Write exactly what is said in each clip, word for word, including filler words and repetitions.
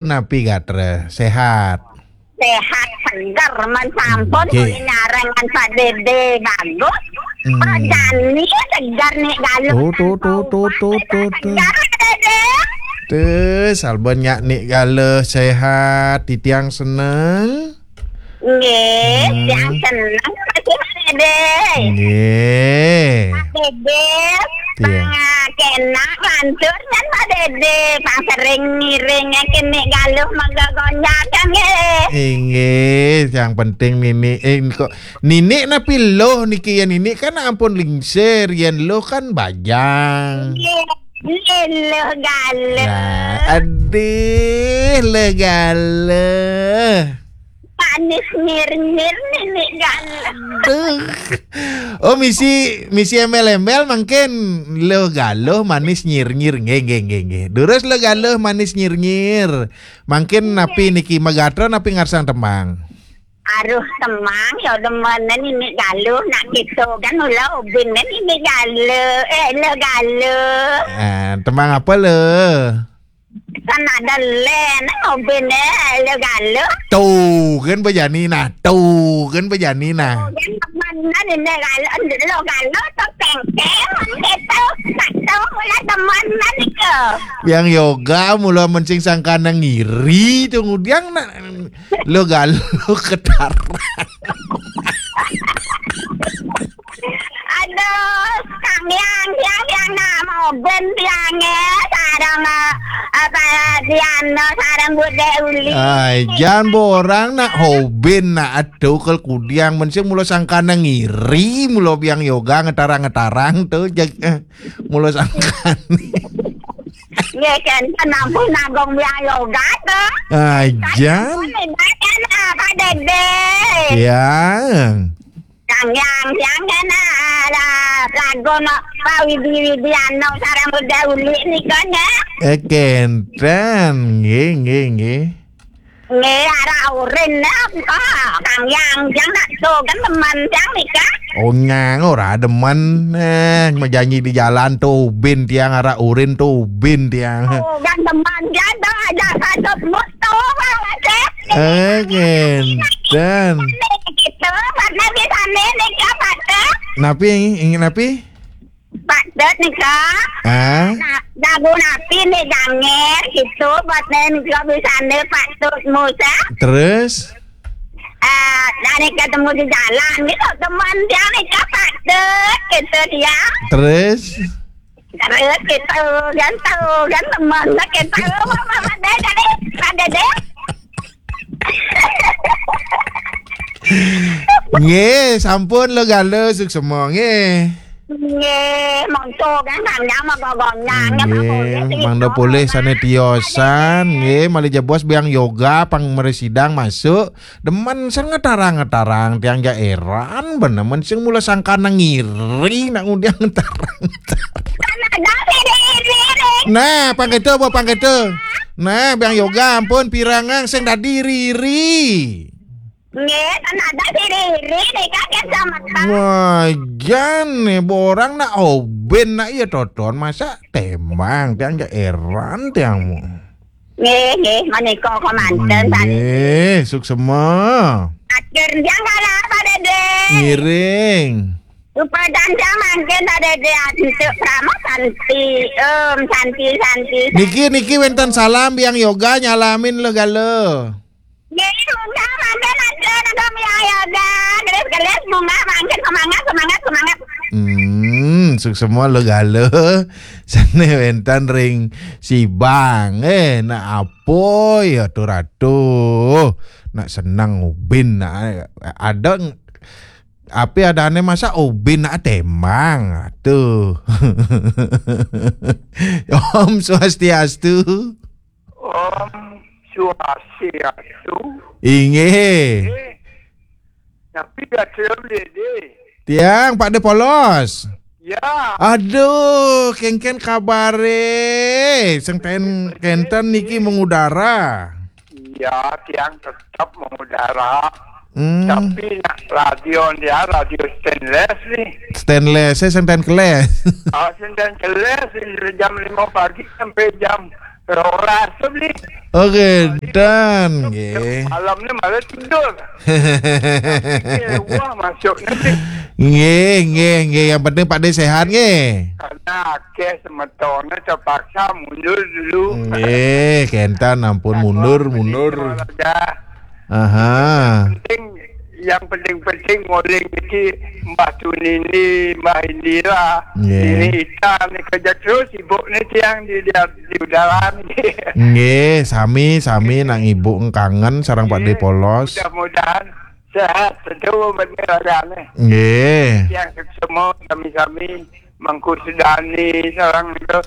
Napi gatra? Sehat? Sehat, seger, man sampun. Nggih. Kulingaran ngan Pak Dede bagus. Hmm. Jani seger Nik Galuh. Tuh, tuh, tuh, tuh, tuh, tuh, tuh. Seger, Pak Dede. Tuh, sampun nyak Nik Galuh sehat, titiang seneng. Nggih, hmm, tiang seneng, Pak Dede. Nggih. Pak Dede, iya. Pang, ah, kenak lantur kan, Pak Dede. Pang sering ngiring, eh, kene Galuh mega gonjang, kan, nggih. Inggih, yang penting Nini, eh, kok Nini napi luh niki ya, Nini kan ampun lingsir, yen luh kan bajang. Nggih, nggih, luh Galuh. Nah, aduh, luh Galuh. Manis nyir-nyir Nini Galuh. Duh. Oh, misi, misi embel-embel mangkin luh Galuh manis nyir-nyir. Nggih, nggih, nggih, nggih. Durus luh Galuh manis nyir-nyir. Mangkin napi niki, magatra napi ngarsang tembang? Aduh, tembang ya demen Nini Galuh nak gitu kan, mula ubin Nini Galuh. Eh, luh Galuh. Ah, tembang apa, luh? Kan ada len, ngopi ne, luh Galuh. Tuh, kan bejani nah. Tuh, kan bejani nah. Kan temenan ini Galuh, luh Galuh tuh tengkeng, gitu. Tak tahu mula temenan itu. Biang Yoga mula mencing sangkana ngiri, tuh ngudiang nak luh Galuh ketarang. Aduh, Kang Yang, Yang, Yang, nak mau ben Yang, eh, sarang, eh, apa, Diana, sarang Bude Uli. Ai, jan borang nak hoben nak aduh kel kudiang, men sing mula sangkana ngiri, mula Biang Yoga ngetarang-ngetarang tuh, jag-, eh, mula sangkana. Ya, kan, kan ampun nanggung Biang Yoga tuh. Ai, jan. Kan ampun, ibaratnya apa, Dede? Yang. Yang, yang, yang kena, ah, lagu no, Pak Widi Widiano, sarang Bude Uli nika, nggih. Eh, kenten, nggih, nggih, nggih. Nggih, arah urin, nah, kok, Kang Yang, yang nak tuh, kan teman, yang nika. Oh, nyang, ora demen. Eh, janji di jalan tuh, ubin tiang, arah urin tuh, ubin tiang. Oh, kan teman, dia tuh aja satu motor, Pak, Cek. Eh, kenten. Gitu, Pak, nabi sana, nika, Pak, Cek. Napi, ingin napi? Patut nika. Ah? Nah, lagu napi nih, Jangir, gitu, buat nih, nika bisa nih, patut musa. Terus? Eh, dari ketemu di jalan, gitu, teman dia nih, patut, gitu, dia. Terus? Terus, gitu, kan tahu, kan teman, kan tahu, apa, apa, deh, jadi, ada deh. Nggih, sampun luh Galuh, suksema nggih. Nggih, monggo kan kandang monggo gonyang, nggih, mangda polih sane tiosan, nggih, malih jebos Biang Yoga pang mresidang masuk. Demen sing ngetarang-ngetarang tiang ja eran, bener men sing mula sangkana ngiri nak ngudiang ngetarang-ngetarang. Nah, pang keto apa pang keto? Nah, Biang Yoga ampun pirangang sing dadi riri. Nggih, kan ada si Riri nih, kan, yang sama, Kang. Wah, jan nih, borang nak oben nak iya toton, masa tembang, tiang ja eran tiang mu. Nggih, nggih, menika komandan tadi. Nggih, suksema. Akhir tiang kalah, Pak Dede. Ngiring. Rupa dan tiang mangkin, Pak Dede, antuk Prama Santi, Om Santi, Santi, Santi. Niki, niki wenten salam, Biang Yoga nyalamin luh Galuh. Nggih, munggah mangkin aja nang kami ayo dah. Gelis-gelis munggah mangkin, semangat, semangat, semangat. Hmm, suksema luh Galuh. Sane wenten ring Sibang. Eh, nak apa ya tu ratu? Nak senang ubin nak ada ng-, api adane masa ubin nak tembang tuh. Om Swastiastu. Om Swastiastu. Inggih. Eh, tapi gak terlalu dede. Tiang Pak De Polos. Ya. Aduh, kengken kabare. Sing ten-, kenten niki mengudara. Iya, tiang tetap mengudara. Hmm. Tapi nak radio dia radio stainless nih. Stainless, saya sing ten keles. Ah, sing ten keles, jam lima pagi sampai jam Roras tu beli. Oh, kedan, nggih. Malam ni malah tidur. Wah, masuk nanti. Nggih, nggih, nggih. Yang penting Pak De sehat, nggih. Karena akeh semetone terpaksa mundur dulu. Nggih, kenten ampun mundur, mundur. Aja. Aha. Penting, yang penting-penting ngoling niki Mbah Tunini, Mbah Indira, Nggih. Nini Ita ni kerja terus sibuk ni tiang di, di, di udara ni. Nggih, sami, sami nak ibu kangen sareng Pak De Polos. Mudah-mudahan sehat tentu bener rajane. Nggih. Yang semua kami-kami Mangku Sedani sareng itu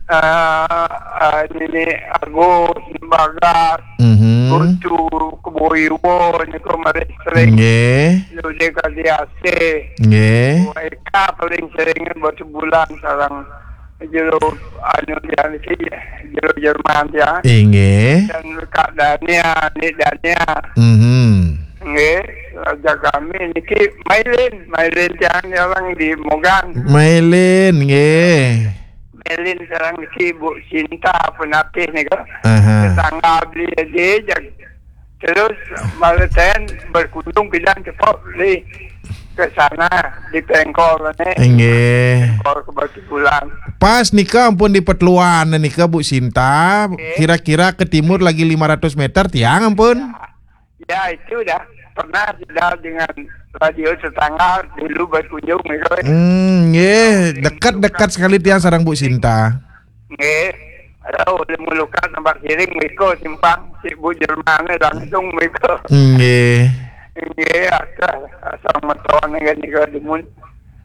eh eh, Nini Agus, Bagas, Mhm. Kutu, Keboiwo, niku mari sering. Nggih. Lude Kadiase. Nggih. Eka paling sering Batu Bulan sareng jero anu yang si jero Jerman ya. Inggih. Dan Kak Dania, Nik Dania. Mhm. Nggih, raja kami niki Mailin, Mailin tiang orang di Mogan. Mailin, nggih. Mailin sareng niki Bu Sinta Penatih nika. Aha. Tetangga beli aja. Terus malah ten berkunjung bilang cepat beli ke sana di Pengkol ni. Nggih. Pengkol ke Batu Bulan. Pas nika ampun di Petluan nika Bu Sinta, Nggih. Kira-kira ke timur lagi lima ratus meter tiang ampun. Ya, itu dah pernah sudah dengan radio tetangga dulu berkunjung gitu. Hmm, nggih, dekat-dekat sekali tiang sareng Bu Sinta. Nggih. Ada boleh mulukan tempat siring miko simpang si Bu Jerman ni langsung miko. Nggih. Nggih, asal asal meton kan nika demun.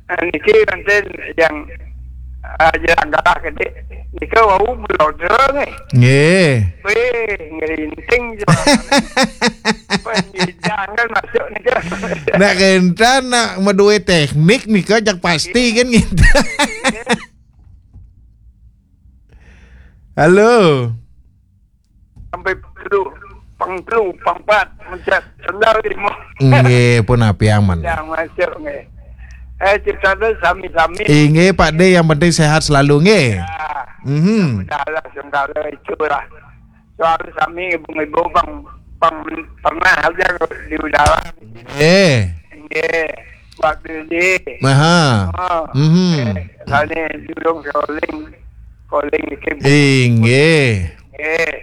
Ah, niki nanti yang ah, jalan kalah gede. Nika wau belum terang eh. Nggih. Weh, ngerinting je. Pendidikan kan masuk nika. Nak kenten nak meduwe teknik nika jak pasti kan gitu. Halo. Sampai perlu pang telu, pang empat, mencet sendal di mo. Nggih, pun api aman. Yang masuk nggih. Eh, cerita tu sami-sami. Inggih, Pak De, yang penting sehat selalu nggih. Ya. Mhm. Dah lah sementara itulah. Soal sami ibu-ibu bang, bang pernah aja di udara. Eh. Nggih. Waktu di. Aha. Oh. Mhm. Eh, sana julung calling. Calling di kebun. Inggih. Eh.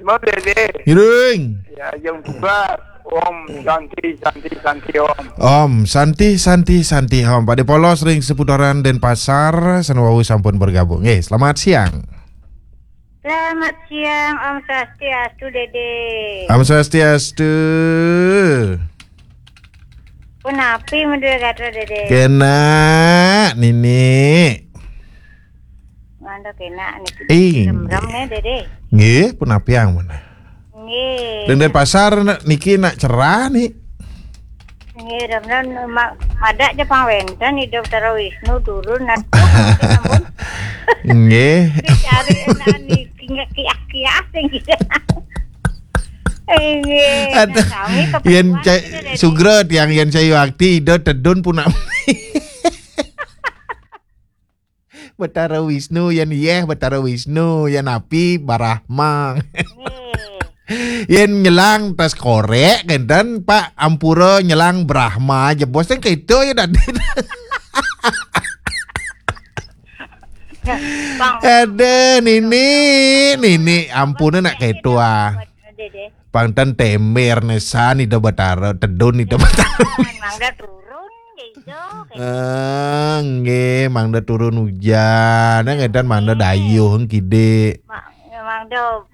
Semua boleh deh. Iring. Ya, yang buka. Om Santi, Santi, Santi Om. Om Santi, Santi, Santi Om. Pak De Polos ring seputaran Denpasar, sané wau sampun bergabung. Nggih, selamat siang. Selamat siang, Om Swastiastu, Dede. Om Swastiastu. Punapi meduwe gatra, Dede? Kenak, Nini. Mantap kenak niki. Ih, remrem nggih, Dede. Nggih, punapi ampun. Nggih. Denden pasar niki nak cerah nih. Nggih, remrem ma-, madak je pang wenten idup Tara Wisnu turun nanti ampun. Nggih. Dicari enak niki nggak kiah-kiah sing gitu. Nggih. Aduh, nah, kami yen kebetulan cai kita dari sugra tiang yen cai wakti ida tedun punami. Betara Wisnu, yen yeh Betara Wisnu, yen api Barahma. Nggih. Yen nyelang tas korek kenten Pak ampura nyelang Brahma aja. Bos kan keto ya tadi. Bang. Aduh, Nini, Nini, ampun nak keto ah. Dede. Pang ten tember nesan ida Betara, tedun ida Betara. Mangda turun gitu. Eh, nggih, mangda turun hujan. Nang edan mangda dayuh kide. Ma-, mangda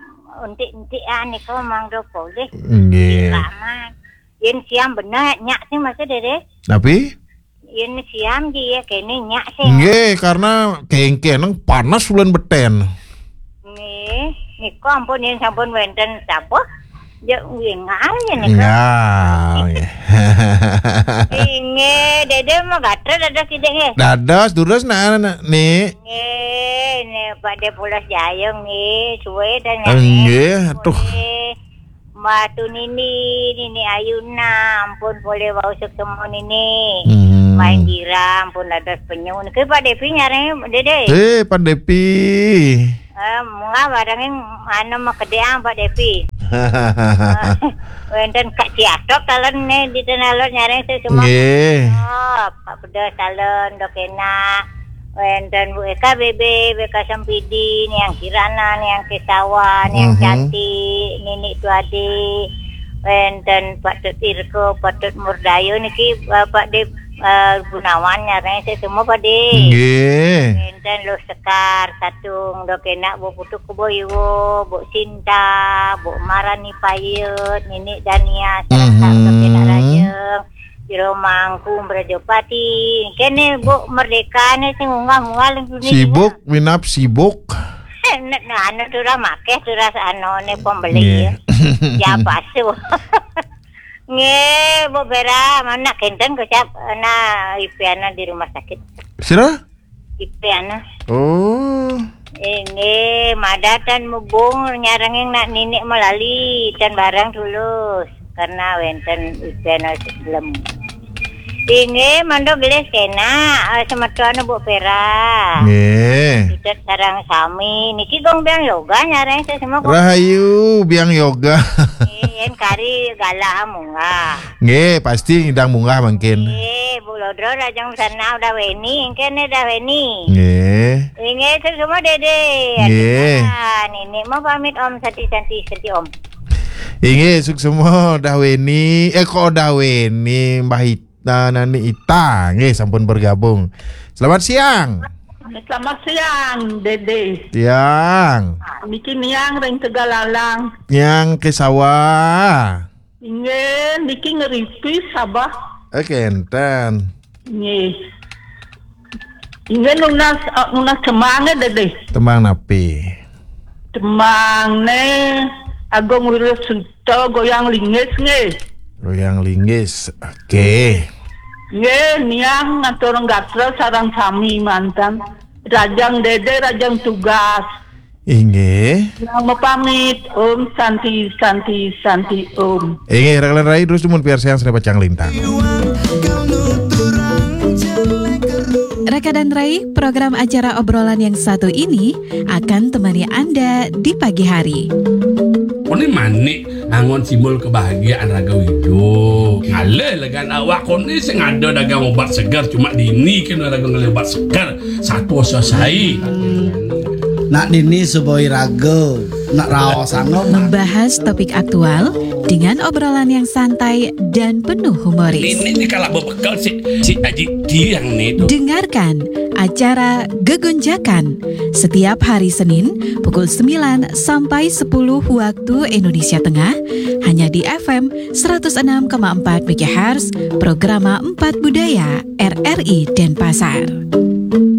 entik-entik ah nika mangda polih. Nggih. Lama. Yen siang bener nyak sih masih Dede. Tapi? Yen siam ji ya kene nyak sih. Nggih, karena kengkeneng panas bulan beten. Nggih, nika ampun yen sampun wenten sapa? Ya wingal ya nika. Ya, nggih. Inggih, Dede mau gatra dados sithik nggih. Dados durus nak, nak, Nik. Nggih, ini Pak De Pulas Jaya nggih, suwe dan nggih, aduh. Nggih. Mbak Tunini, Nini Ayuna, ampun polih wau suksma Nini. Hmm. Mbak Indira, ampun dados penyu. Niki Pak Devi nyareng, Dede. Eh, Pak Devi. Eh, munggah barangin anu makedéang Pak Devi. Wénten Kak Ciatok talon né di Tenalon nyareng sesuma. Nggih. Oh, Pak Pedas talon dok enak. Wénten Bu Eka B B, B K Sempidi, Niang Kirana, Niang Kesawan, Niang Mhm. Cantik, Nini Tuadi. Wénten Pak Tut Irko, Pak Tut Murdayo niki, eh, Pak De, eh, Gunawan nyareng sesuma Pak De. Nggih. Wénten Lo Sekar, Satung, dok enak Bu Putu Kebo Iwo, Bu Sinta, Bu Marani Payet, Nini Dania, sareng Mhm. dok enak Rajeng, Jero Mangku, Mrajapati. Kéné Bu Merdeka né sing munggah-munggah ling dunia. Sibuk, minap sibuk. Nek anu turah makéh turah anone pembeli Nggih. Ya. Ya pasu. Nggih, Bu Vera, mana kénten kecap na ipiana di rumah sakit. Sira? Ipiana. Oh. Inggih, madatan mubung nyarenging nak ninik melali tan barang tulus karena wénten ipiana sebelum. Inggih, mando gelis kena, eh, semeton Bu Vera. Nggih. Sutet sareng sami. Niki gong biang yoga nyareng sesama gong. Rahayu biang yoga. Nggih, yén kari galah munggah. Nggih, pasti ngidang munggah mangkin. Nggih, Bu Lodro rajang sana udah weni, engkene dah weni. Nggih. Inggih, sesama Dede. Nggih. Ah, Nini mau pamit Om, santi-santi, santi Om. Inggih, suksma dah weni. Eh, kok dah weni, Mbah Ita, Nani Ita. Nggih, sampun bergabung. Selamat siang. Selamat siang, Dede. Siang. Niki Niang ring Tegalalang. Niang Kesawa. Inggih, niki ngeripi Sabah. Eh, kénten. Nggih. Inggih nunas, eh, nunas cemang ya, Dede. Tembang napi? Tembang né Agung Wirasuta, Goyang Linggis nggih. Goyang Linggis. Oke. Nggih, Niang ngatur gatra sareng sami mantan. Rajang Dede, rajang tugas. Inggih. Yang mapamit, Om Santi, Santi, Santi, Om. Inggih, Raka dan Rai terus dumun piarsayang Seni Pacang Lintang. Raka dan Rai, program acara obrolan yang satu ini akan temani Anda di pagi hari. Koné manik angon simbol kebahagiaan raga wida. Ngalih legan awak koné sing ada dagang obat segar cuma dini kena raga ngalih obat segar. Satu selesai. Nak dini suboi raga, nak raos anu. Membahas topik aktual dengan obrolan yang santai dan penuh humoris. Ini, ini kalau berbekal si, si Aji Tiang nih tuh. Dengarkan acara Gegonjakan setiap hari Senin pukul sembilan sampai sepuluh waktu Indonesia Tengah, hanya di F M seratus enam koma empat megahertz, Programa Empat Budaya, R R I Denpasar.